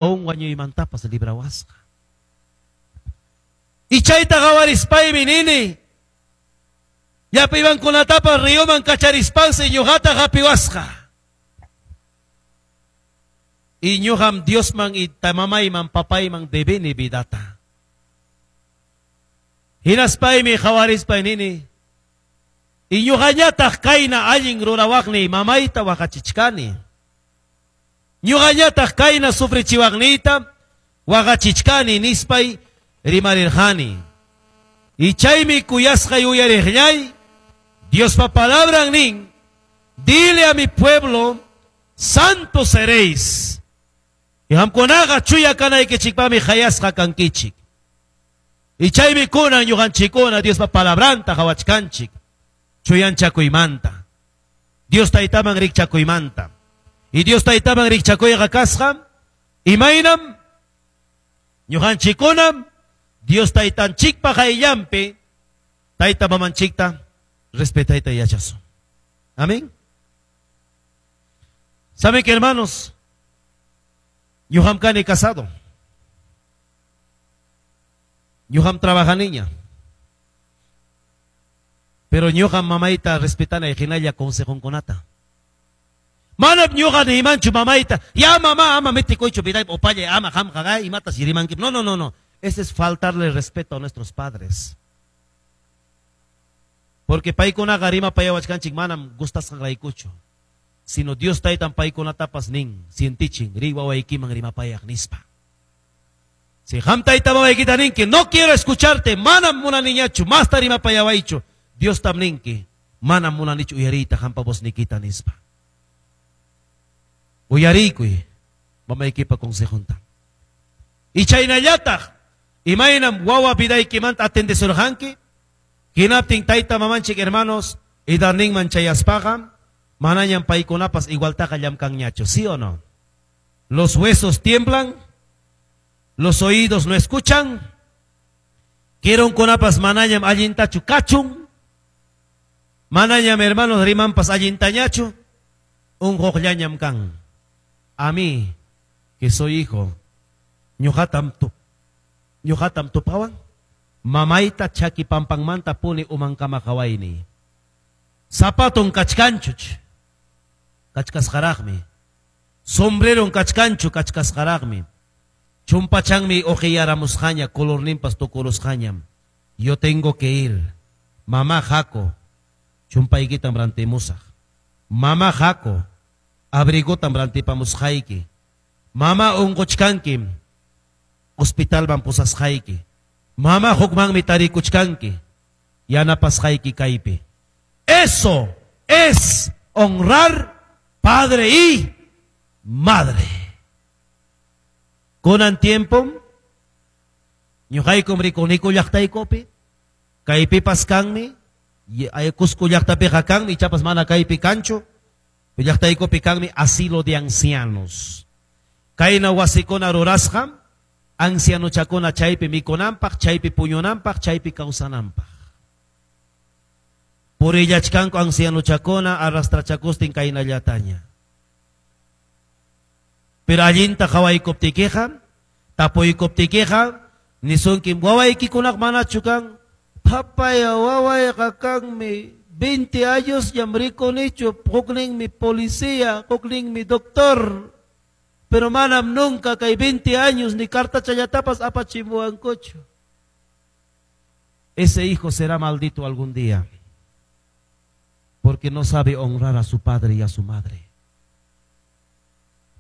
Wañuymantapas librawasqa. Y chayta qawarispaymi nini, llapa riyuman kacharispansi ñuqata hapiwasqa. Y ñuqam Diosman y mamayman papayman debeni vidata. Hinaspaymi qawarispay nini, y ñuqañataq kayna allin rurawaqniy mamayta waqachichkani. Ñuqañataq kayna sufrichiwaqniyta waqachichkani nispay rimarirqani. Y chaymi kuyasqay uyariqllay, Diospa palabran nin, dile a mi pueblo, santo seréis. Y qamkunaqa chuya kanaykichikpaqmi qayasqa kankichik. Y chaymi kunan ñuqanchikkuna Diospa palabranta qawachkanchik. Chuyanchakuymanta. Dios taytaman rikchakuymanta. Y Dios taytaman rikchakuyqa kasqa, imaynam ñuqanchikkunam Dios taytanchikpa qayllanpi tayta mamanchikta respetayta yachasun. Amén. ¿Saben que, hermanos? Ñuqam kani casado. Ñuqam trabajaniña. Pero ñuqam mamayta respetanay hinalla consejunkunata. Manam ñuqa niymanchu mamayta, ya mamá ama metikuychu vidaypi upallay ama qamqa imatas rimanki. No, no, no, no. Ese es faltarle respeto a nuestros padres. Porque paykunaqa rimapayawachkanchik manam gustasqanraykuchu. Sino Dios taytan paykunatapas nin, sientichin, riy wawaykiman rimapayaq nispa. Si qam tayta mamaykita ninki, no quiero escucharte, manam munaniñachu, masta rimapayawaychu. Dios tam ninki, manam munanichu uyariyta qampa voznikita nispa. Uyariykuy mamaykipa consejunta. Y chaynallataq, imaynam wawa vidaykimanta atendesurqanki, hinaptin tayta mamanchik hermanos, edadninman chayaspaqa, manañam paykunapas igualtaqa llamkanñachu, ¿sí o no? Los huesos tiemblan, los oídos no escuchan, kirunkunapas manañam allintachu kachun, manañam hermanos rimanpas allintañachu, unquqllañam kan. A mí, que soy hijo, ñuqatam tupawan, mamayta chaki pampanmanta puni umankama qawayni. Zapaton kachkanchuch, kachkasqaraqmi. Sombreron kachkanchu, kachkasqaraqmi. Chumpachanmi uqiyaramusqaña, colorninpas tukurusqañam. Yo tengo que ir. Mamá haku, chumpaykitam rantimusaq. Mamá haku, abrigotam rantipamusqayki. Mamá unquchkanki, hospitalman pusasqayki. Mamá hukmanmi tarikuchkanki, yanapasqayki kaypi. Eso es honrar padre y madre. Kunan tiempo, ñuqaykum rikuniku llaqtaykupi, kaypipas kanmi, Cusco llaqtapiqa kanmi, ichapas mana kaypi kanchu, llaqtaykupi kanmi asilo de ancianos. Kayna wasikuna rurasqa, ancianochakuna chaypi mikunanpaq, chaypi puñunanpaq, chaypi kawsananpaq. Purillachkanku ancianochakuna arrastrachakustin kaynallataña. Pero allinta qawaykuptikiqa, tapuykuptikiqa, nisunkim wawaykikunaq manachu kan, papaya wawayqa kanmi, 20 años ñam rikunichu, hukninmi policía, hukninmi doctor. Pero manam nunca kay 20 años ni cartachallatapas apachimuwankuchu. Ese hijo será maldito algún día, porque no sabe honrar a su padre y a su madre.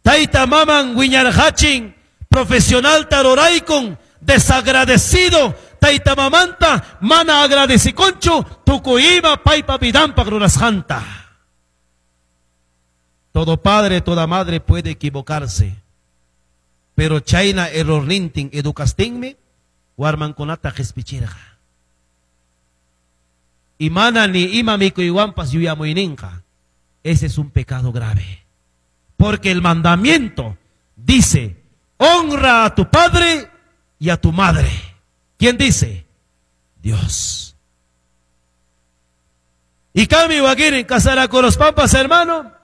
Tayta maman wiñarqachin, profesional taruraykun, desagradecido, tayta mamanta mana agradecikunchu, tukuy ima paypa vidanpaq rurasqanta. Todo padre, toda madre puede equivocarse, pero chayna errornintin educastinmi warmankunata qispichirqa. Y mana ni ima mikuywanpas yuyamuyninqa. Ese es un pecado grave. Porque el mandamiento dice, honra a tu padre y a tu madre. ¿Quién dice? Dios. Y Cami Wakirin casará con los pampas, hermano.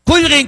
Qullqin.